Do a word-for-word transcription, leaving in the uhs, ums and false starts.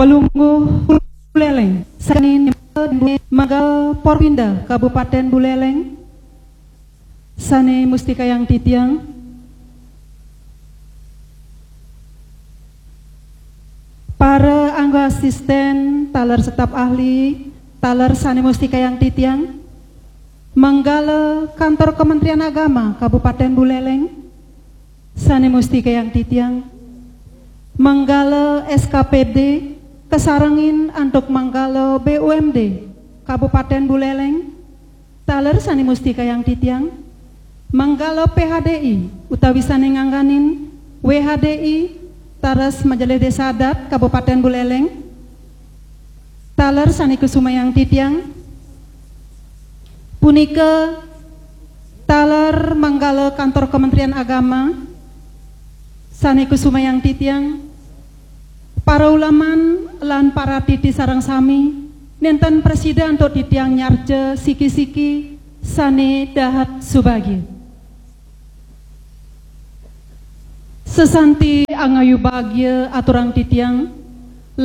Pelungguh Buleleng, sané manggala Porpinda Kabupaten Buleleng, sané mustikayang titiang. Para angga asisten, taler staf ahli, taler sané mustikayang titiang. Manggala Kantor Kementerian Agama Kabupaten Buleleng, sané mustikayang titiang. Manggala S K P D, kasarengin antuk manggala B U M D Kabupaten Buleleng, taler sané mustikayang titiang. Manggala P H D I utawi sané ngangganin W H D I, taler Majelis Désa Adat Kabupaten Buleleng, taler sané kusumayang titiang. Punika taler manggala Kantor Kementerian Agama sané kusumayang titiang. Para ulaman lan para titi sareng sami, nénten prasida antuk titiang nyarca siki-siki sané dahat subagia. Sasanti angayu bagia aturang titiang,